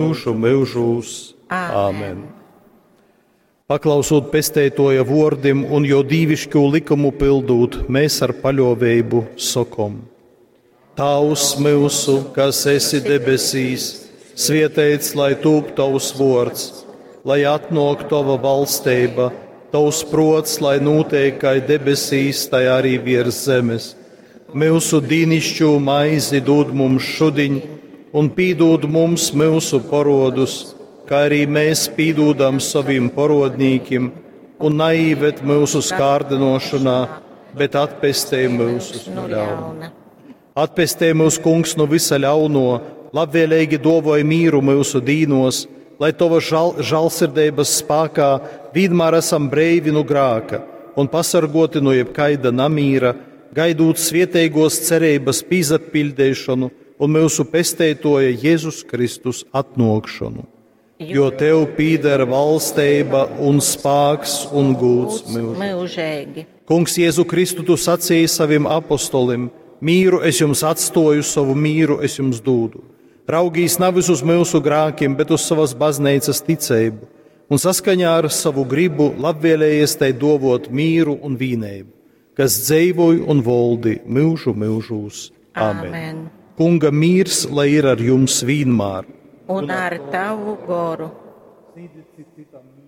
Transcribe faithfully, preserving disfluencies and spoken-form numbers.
Myužu myužūs. Āmen. Paklausūt Pesteitoja vuordim un jo dīviškū likumu pildūt, mēs ar paļuoveibu sokom: Tāvs myusu, kas esi debesīs, svieteits lai tūp tovs vuords, lai atnuok tova valsteiba, tovs pruots, lai nūteik kai debesīs, tai arī viers zemes. Myusu dīnišķū maizi dūd mums šudiņ, un pīdūd mums myusu porodus, kā arī mēs pīdūdam saviem porodnīkim, un naīved myusu skārdinošanā, bet atpestej myusus no ļauna. Atpestej mūs, Kungs, no visa ļauno, labvēlīgi dovoj mīru myusu dīnos, lai tova žal, žālsirdības spākā vienmēr esam breivi no grāka un pasargoti no jebkaida namīra, gaidūt svieteigos cerības pīzapildīšanu un mūsu pesteitoja Jēzus Kristus atnokšanu. Jo tev pīder valsteiba un spāks un gūds mūžīgi. Mūžīgi. Kungs Jēzu Kristu, tu sacīji saviem apostolim: Mīru es jums atstoju, savu mīru es jums dūdu. Raugīs nevis uz mūsu grākiem, bet uz savas baznīcas ticību, un saskaņā ar savu gribu labvēlējies tai dovot mīru un vīneibu, kas dzeivoj un voldi mūžu mūžūs. Āmen. Āmen. Kunga mīrs, lai ir ar jums vienmēr. Un ar tavu goru. Sniedzit citam mīru.